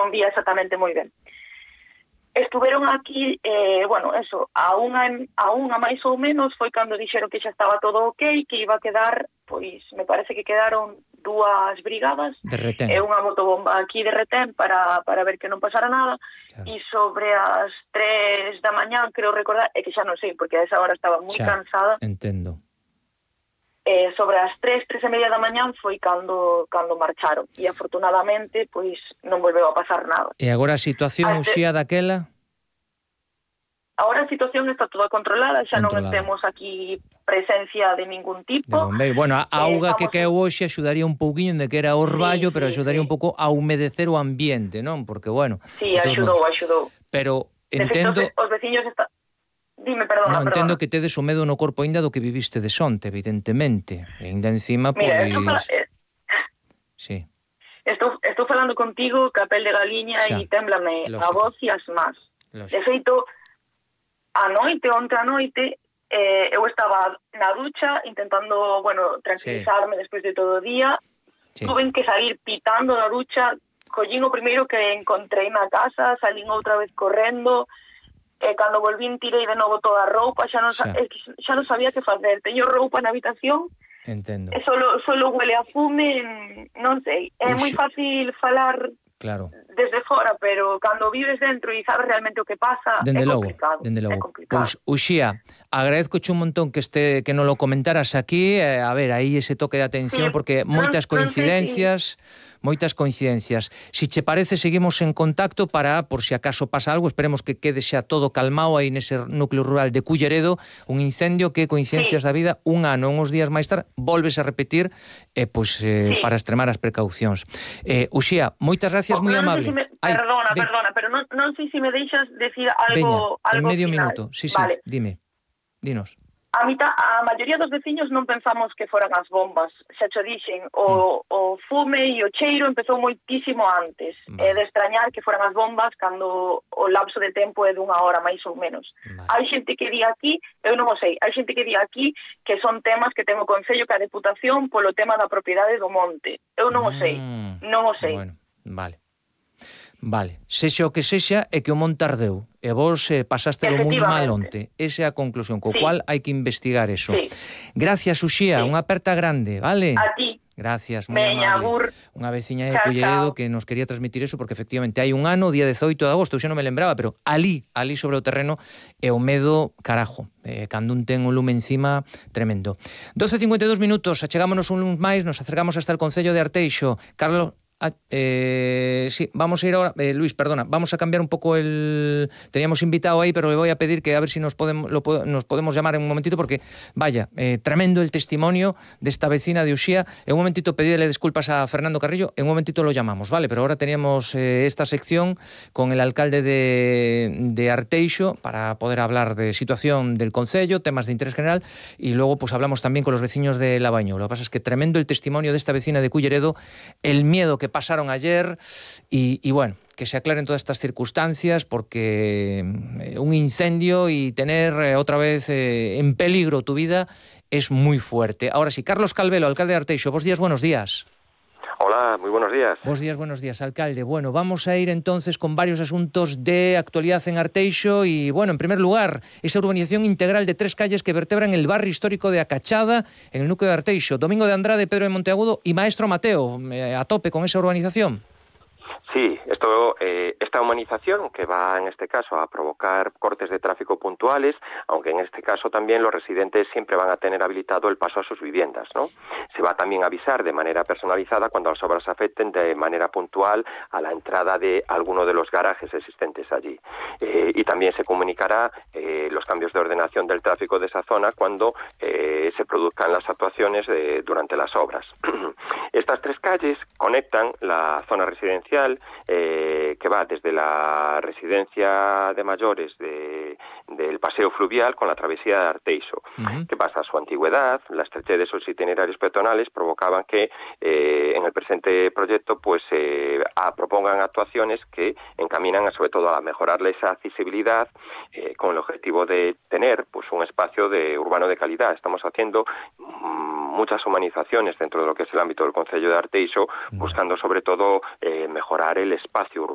non vía exactamente moi ben. Estuveron aquí, a unha máis ou menos foi cando dixeron que xa estaba todo ok, que iba a quedar, pois, me parece que quedaron 2 brigadas de retén. E unha motobomba aquí de retén para ver que non pasara nada. Claro. E sobre as 3 da mañán, creo recordar, é que xa non sei, porque a esa hora estaba moi cansada. Entendo. Sobre as 3 e media da mañán foi cando marcharon. E afortunadamente, pois, non volveu a pasar nada. E agora a situación, Uxía, daquela? Agora a situación está toda controlada, xa non temos aquí presencia de ningún tipo. De bombeiro. Bueno, a auga que caeu hoxe axudaría un pouquiño de que era orballo, pero axudaría un pouco a humedecer o ambiente, non? Porque, bueno... Sí, axudou. Pero entendo... Os veciños están... Dime, perdona. Non, entendo que tedes o medo no corpo aínda do que viviste de sonte, evidentemente. E aínda encima, pois... Mira, Sí. Estou falando contigo, capel de galiña, e témblame a voz e as más. De feito, onte a noite, eu estaba na ducha intentando, tranquilizarme despois de todo o día. Tuve que salir pitando da ducha, collín o primeiro que encontrei na casa, salín outra vez correndo, e cando volvín tirei de novo toda a roupa, xa non sabía que facer. Teño roupa na habitación, entendo. E solo huele a fume, non sei. É moi fácil falar desde fora, pero cando vives dentro e sabes realmente o que pasa, é complicado. Dende logo. Pois, Uxía, agradezcoche un montón que non lo comentaras aquí, a ver, aí ese toque de atención, porque moitas coincidencias... Moitas coincidencias. Si che parece, seguimos en contacto para, por si acaso pasa algo, esperemos que quede xa todo calmado aí nese núcleo rural de Culleredo, un incendio que, coincidencias da vida, un ano, uns días máis tarde, volves a repetir, para extremar as precaucións. Uxía, moitas gracias, moi amable. Perdona, pero non sei se me deixas decir algo en medio final. Minuto, sí, vale. Dime, dinos. A maioría dos veciños non pensamos que foran as bombas, xa cho dixen, o fume e o cheiro empezou moitísimo antes. É de extrañar que foran as bombas cando o lapso de tempo é d'1 hora, máis ou menos. Hai xente que di aquí, eu non o sei, hai xente que di aquí que son temas que ten o Concello que a Deputación polo tema da propiedade do monte. Eu non o sei, non o sei. Bueno, Vale, sexa o que sexa, é que o monte ardeu, e vos pasástelo moi mal onte. Esa é a conclusión, co cual hai que investigar eso. Gracias, Uxía, unha aperta grande, vale? A ti. Gracias, moi amable. Unha veciña de Culleredo que nos quería transmitir eso, porque efectivamente hai un ano, día 18 de agosto, eu xa non me lembraba, pero ali sobre o terreno, é o medo, carajo, cando un ten un lume encima, tremendo. 12:52 minutos, achegámonos un máis, nos acercamos hasta el Concello de Arteixo. Carlos... sí, vamos a ir ahora, Luis, perdona, vamos a cambiar un poco teníamos invitado ahí, pero le voy a pedir que a ver si nos podemos llamar en un momentito, porque vaya, tremendo el testimonio de esta vecina de Uxía. En un momentito pedirle disculpas a Fernando Carrillo, en un momentito lo llamamos, ¿vale? Pero ahora teníamos esta sección con el alcalde de Arteixo para poder hablar de situación del concello, temas de interés general, y luego pues hablamos también con los vecinos de Labaño. Lo que pasa es que tremendo el testimonio de esta vecina de Culleredo, el miedo que pasaron ayer y bueno, que se aclaren todas estas circunstancias, porque un incendio y tener otra vez en peligro tu vida es muy fuerte. Ahora sí, Carlos Calvelo, alcalde de Arteixo, buenos días. Hola, muy buenos días. Buenos días, alcalde. Bueno, vamos a ir entonces con varios asuntos de actualidad en Arteixo y, bueno, en primer lugar, esa urbanización integral de 3 calles que vertebran el barrio histórico de Acachada, en el núcleo de Arteixo. Domingo de Andrade, Pedro de Monteagudo y Maestro Mateo, a tope con esa urbanización. Sí, esta humanización que va en este caso a provocar cortes de tráfico puntuales, aunque en este caso también los residentes siempre van a tener habilitado el paso a sus viviendas, ¿no? Se va también a avisar de manera personalizada cuando las obras afecten de manera puntual a la entrada de alguno de los garajes existentes allí. Y también se comunicará los cambios de ordenación del tráfico de esa zona cuando se produzcan las actuaciones durante las obras. Estas 3 calles conectan la zona residencial que va desde la residencia de mayores del paseo fluvial con la travesía de Arteixo. ¿Qué pasa? Su antigüedad, la estrechez de sus itinerarios peatonales provocaban que en el presente proyecto pues propongan actuaciones que encaminan sobre todo a mejorarle esa accesibilidad con el objetivo de tener pues un espacio urbano de calidad. Estamos haciendo muchas humanizaciones dentro de lo que es el ámbito del Concello de Arteixo, buscando sobre todo mejorar el espacio urbano.